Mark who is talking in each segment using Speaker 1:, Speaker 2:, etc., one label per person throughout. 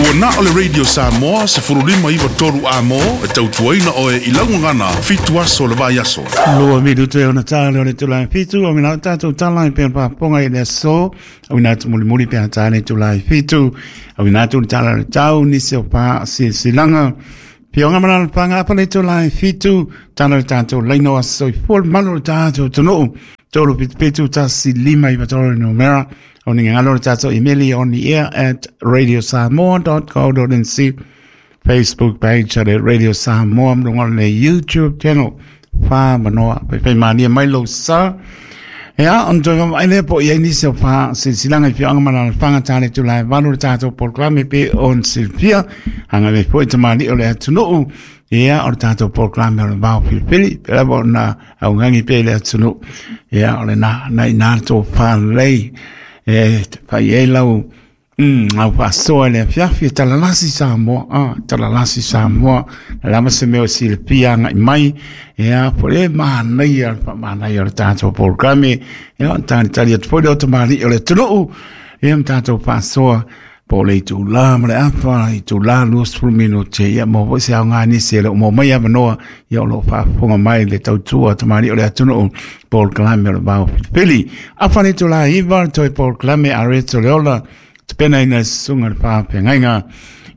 Speaker 1: Ua na o le Radio Samoa 1593 amo e tautuaina oe i lau gagana 7 aso o le vaiaso.
Speaker 2: Lua minutu e ona tā le o le itula e 7, o mina o tātou tala i pea pāponga i le aso, o mina atu mulimuli pea tā le itula e 7, o mina atu le tala le tau nisi o pā silasilaga. Pionga mana le panga apa le itula e 7, tala le tātou laina o aso i fua le malu o le tātou atunuu. 377 1 5 9 3 numera. O ni ngalo le tātou imeli on the air at radiosamoa.co.nz Facebook page at Radio Samoa mlunga le YouTube channel wha manoa pe pe mania mai lo sa Ea, on toi mama aile po ia nisi o wha silsilanga i whioanga mana le whanga tāne tu lai valu le tātou polokalame pe on silfia hanga me po i tamani o le atunuu ia o le tātou polokalame o le vao pilipili pe lava o na au ngangi pe le atunuu ia o le na na i nā tō whālei e whai e lau au faasoa i le afiafi e talalasi Samoa, a talalasi Samoa, le lava se mea o silafia agai mai, ia po o le manaia le faamanaia o le tatou polokalame, ia ona talitali atu foi lea o tamalii o le atunuu, ia ma tatou faasoa po o le itula ma le afa, itula 20 minute, ia maua foi se aoga nisi e le o maua mai avanoa, ia o lo o faafofoga mai le tautua a tamalii o le atunuu, polokalame o le Vao Filifili. Afa le itula 9, toe polokalame a Reto Leola, tapenaina e susuga le faafeagaiga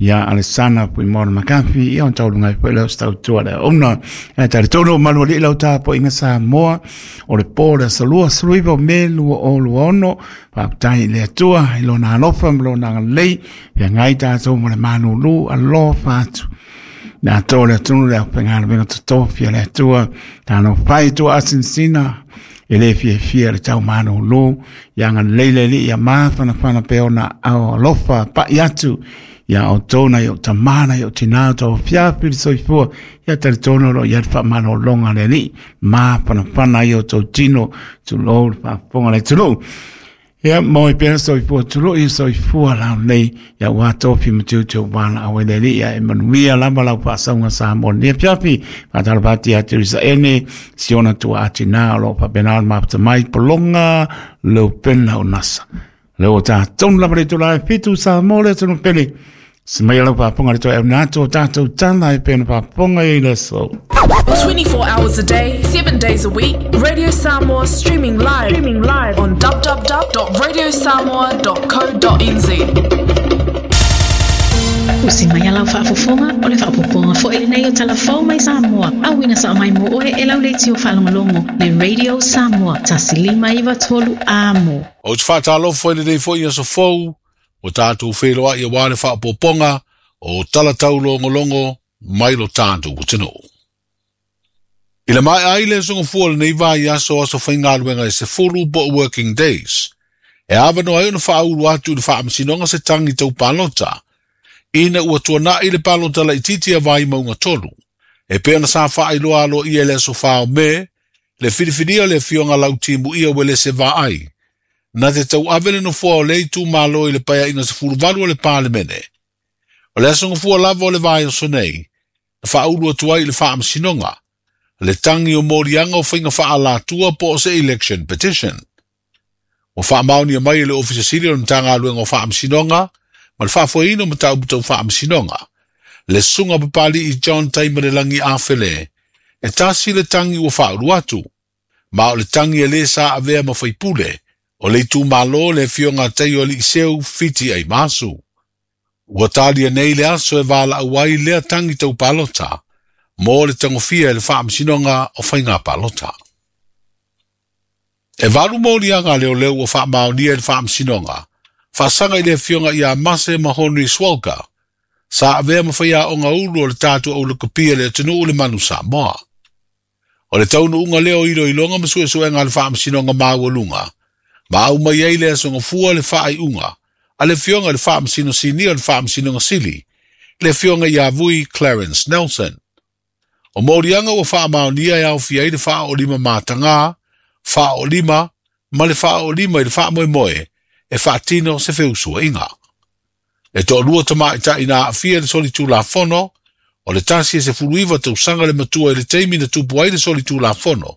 Speaker 2: ia Alesana Puimona Makafi, ia ona tauluga ai foi lea o se tautua le aoga. Ae talitonu o malualii lau tapuaiga Samoa, o le po o le aso 29 o Me 2026, faafetai i le Atua i lona alofa ma lona agalelei, feagai tatou ma le malulu, alofa atu. Le atoa o le atunuu le aufaigaluega totofi a le Atua, talofa e tua asinasina, e le fiafia le tau malulu, ia agalelei le Alii ia mafanafana pea ona ao alofa pai atu ia outou nai ou tama nai ou tinā o tau afiafi le soifua, ia talitonu o lo o i ai le faamalologa a le Alii, mafanafana ai outou tino, tulou le faafofoga a le atunuu. Ia, moe pea soifua tului, soifua laulelei, ia ua tofi ma tiute ua laau ai le Alii, ia e manuia lava lau faasauga Samoa i lenei afiafi. Faatalofa atu ia Teresa Ene, si ona tuaa tinā o lo o faapena ona mafuta mai, pologa Leupena o NASA. Lea ua tatou lava le itula e 7 Samoa le atunuu pele. Se mai lau faafofoga le toe auina atu o tatou tala e pei ona faafofoga i le aso.
Speaker 3: 24 hours a day, 7 days a week, Radio Samoa streaming live, streaming live on www.radiosamoa.co.nz.
Speaker 4: Usi mai a lau faafofoga, o le faaopoopoga foi lenei o Tala Fou mai Samoa, auina sao mai mo oe e lau leitio faalogologo le Radio Samoa 1593 amo.
Speaker 5: Ou te faatalofa i lenei foi aso fou, ua tatou feiloai aua le faaopoopoga o tala taulogologo mai lo tatou atunuu. I le maea ai le aso gafua o lenei vaiaso aso faigaluega e 10 po o working days, e avanoa ai ona faaulu atu i le faamasinoga se tagi tau palota, ina ua tuanai le palota laitiiti a Vaimauga 3, e pei ona sa faailoa aloaia i le aso 4 o Me, le filifilia o le afioga Lautimuia Uelese Vaai, na te tauave le nofoa o lea itumalo i le paeaiga 18 o le Palemene. O le aso gafua lava o le vaiaso nei, na faaulu atu ai i le faamasinoga, le tagi o moliaga o faiga faaalatua po o se election petition. Ua faamaonia mai e le Ofisa Sili o le Matagaluega o Faamasinoga ma le Faafoeina o Mataupu Tau Faamasinoga, le Susuga Papali'i John Taimalelagi Afele, e tasi le tagi ua faaulu atu, ma o le tagi e lē sa avea ma faipule o le itumalo le afioga a Taioaliiseu Fiti Aimasu. Ua talia nei le aso e valaau ai lea tagi tau palota mo le tagofia e le Faamasinoga o Faiga Palota. E 8 moliaga a leoleo ua faamaonia i le Faamasinoga, faasaga i le afioga ia Mase Mahonri Swalka, sa avea ma faiaoga ulu o le tatou aulakapia i le atunuu le Manu Samoa. O le taunuuga lea o iloiloga ma suesuega a le Faamasinoga Maualuga, ma aumai ai le aso gafua le faaiuga a le afioga i le Faamasino Sinia o le Faamasinoga Sili, le afioga ia Vui Clarence Nelson. O moliaga ua faamaonia e aofia ai le faaoolima matagā, faaoolima ma le faaoolima i le faamoemoe e faatino se feusuaiga. E toalua tamaitai na aafia i le solitulafono, o le tasi e 19 tausaga le matua i le taimi na tupu ai le solitulafono,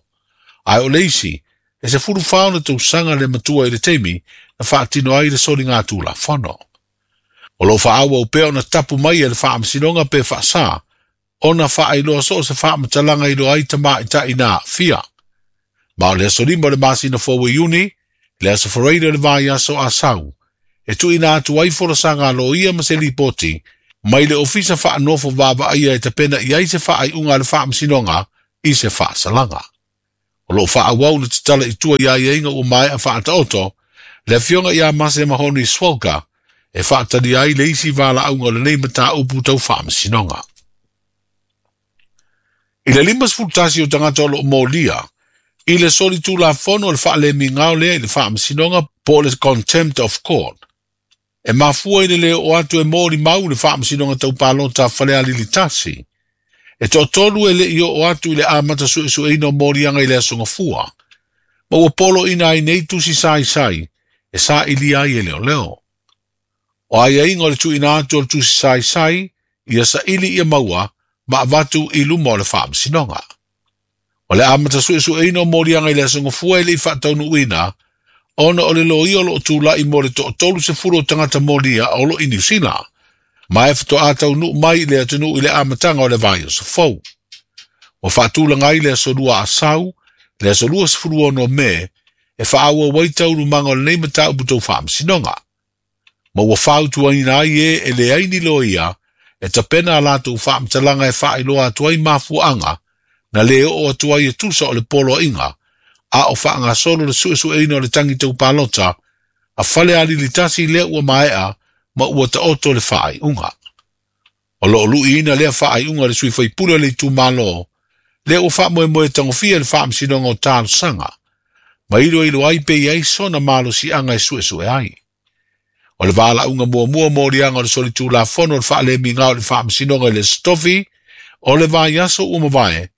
Speaker 5: ae o le isi e 14 ona tausaga le matua i le taimi na faatino ai le soligatulafono. O loo faaauau pea ona tapu mai e le Faamasinoga pe faasā ona faailoa soo se faamatalaga i iloa ai tamaitai na aafia. Ma o le aso 5 o le masina fou o Iuni, le aso Faraile o le vaiaso Asau, e tuuina atu ai folasaga a loia ma se lipoti mai le Ofisa Faanofo Vaavaaia e tapena i ai se faaiuga a le Faamasinoga i se faasalaga. O loo faaauau le tatala i tua i aiaiga ua maea faataoto le afioga ia Mase Mahoni Swalka e faatalia ai le isi valaauga o lenei mataupu tau faamasinoga. I le 51 o tagata o loo molia i le solitulafono o le faalemigao lea i le Faamasinoga po o le contempt of court, e mafua i le le oo atu e molimau le Faamasinoga Tau Palota a Falealili 1. E toatolu e le i oo atu i le amata suesueina o moliaga i le aso Gafua, ma ua poloina ai nei tusi saisai e sailia ai e leoleo. O aiaiga o le tuuina atu o le tusi saisai, ia saili ia maua ma avatu i luma o le Faamasinoga. O le amata suesueina o moliaga i le aso Gafua e le i faataunuuina ona o le loia o loo tulai mo le 30 o tagata molia o loo i Niu Sila, ma e faatoa taunuu mai i le atunuu i le amataga o le vaiaso fou. Ua faatulaga ai le aso 2 Asau, le aso 26 Me, e faaauau ai taualumaga o lenei mataupu tau faamasinoga. Ma ua fautuaina ai e e leai ni loia e tapena a latou faamatalaga e faailoa atu ai mafuaaga na le oo atu ai e tusa o le poloaiga a o faagasolo le suesueina o le tagi tau palota a Falealili 1 lea ua maea ma ua taoto le faaiuga. O loo luiina lea faaiuga le sui faipule o le itumalo lea ua faamoemoe tagofia le Faamasinoga o Talosaga ma iloilo ai pe i ai sona malosiaga e suesue ai. O le valaauga muamua moliaga o le solitulafono o le faalemigao i le Faamasinoga i le Aso Tofi o le vaiaso ua mavae,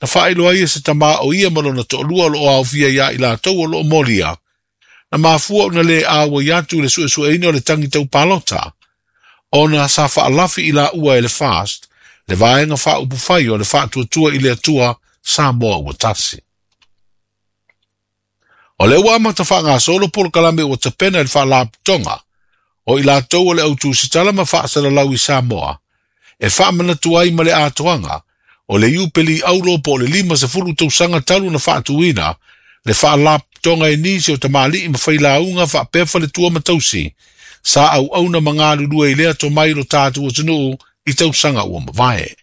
Speaker 5: na faailoa ai e se tamā o ia ma lona toalua o loo aofia ia i latou o loo molia, na mafua ona le auai atu i le suesueina o le tagi tau palota, ona sa faalafi i laua e le FAST, le vaega faaupufai o le Faatuatua i le Atua Samoa ua tasi. O lea ua amata faagasolo polokalame ua tapena e le Faalapotopotoga o i latou o le au tusitala ma faasalalau i Samoa, e faamanatu ai ma le atoaga o le Iupeli Aulo po o le 50 tausaga talu na faatuina le Faalapotopotoga e nisi o tamalii ma failauga faapea faletua ma tausi sa auauna ma galulue i lea tomai lo tatou atunuu i tausaga ua mavae.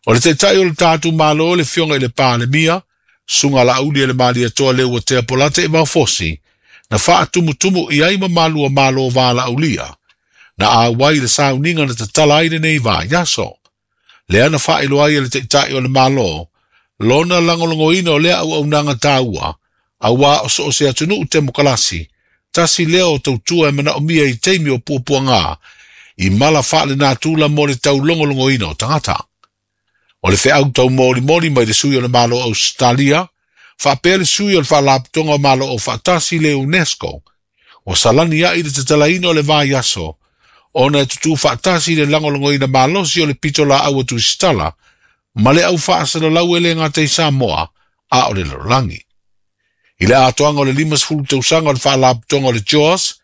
Speaker 5: O le taitai o le tatou Malo le afioga i le Palemia, Susuga Laauli e le Malietoa Leuatea Polata Evaofosi, na faatumutumu i ai ma malua malo valaaulia, na auai le sauniga na tatala ai lenei vaiaso. Lea na faailoa ai e le taitai o le Malo, lona lagolagoina o lea auaunaga taua, auā o so o se atunuu temokalasi, tasi lea o tautua e manaomia i taimi o puapuaga, i mala faalenatura mo le taulogologoina o tagata. O le feau taumolimoli mai le sui o le Malo o Ausetalia, faapea le sui o le Faalapotopotoga o Malo Aufaatasi le UNESCO, ua salani ai le tatalaina o le vaiaso, ona e tutū faatasi le lagolagoina malosi o le pitolaau a Tusitala ma le au faasalalau e le gata i Samoa a o le lalolagi. I le atoaga o le 50 tausaga o le Faalapotopotoga o le JAWS,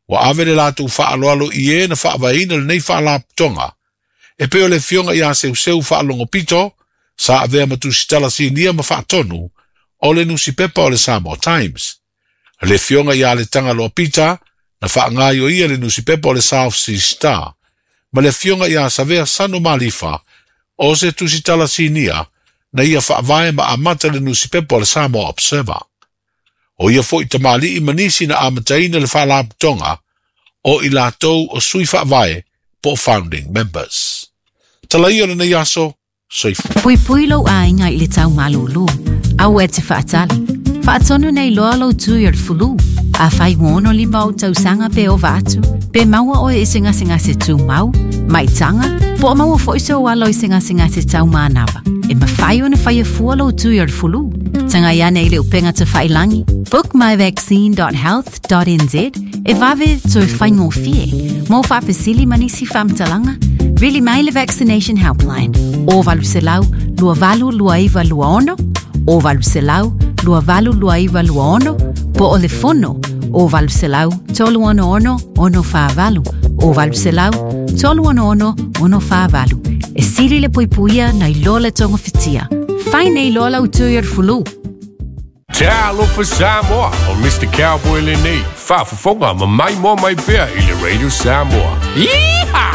Speaker 5: ua ave le latou faaaloalo i e na faavaeina lenei Faalapotopotoga, e pei o le afioga ia Seuseu Faalogopito, sa avea ma tusitala sinia ma faatonu o le nusipepa o le Samoa Times. Le afioga ia Letagaloa Pita, na faagaoioia le nusipepa o le South Sea Star, ma le afioga ia Savea Sano Malifa, o se tusitala sinia, na ia faavae ma amata le nusipepa o le Samoa Observer. O ia foi tamalii ma nisi na amataina le Faalapotopotoga o i latou o sui faavae po o founding members. Tala ia o lenei aso, soifua.
Speaker 4: Puipui lou aiga i le tau malūlū. Aua e te faatali. Faatonu nei loa lou tui o le fulu. Afai ua 65 ou tausaga pe ova atu, pe maua oe i se gasegase tumau, maitaga, po o maua foi sou alo i se gasegase tau manava, e mafai ona faia fua lou tui o le fulu. Tagai ane i le upega tafailagi bookmyvaccine.health.nz e vave toe faigofie. Mo faafesili ma nisi faamatalaga, vili mai le Vaccination Helpline o 800 2829 26 o 800 2829 26 po o le fono o 800 366 648. O 800 366 648. E sili le puipuia nai lo le togofitia. Fai nei loa lau tui o le fulu.
Speaker 6: Talofa Samoa, o Mr. Cowboy lenei, faafofoga ma mai mo mai pea i le Radio Samoa. Yeehaw!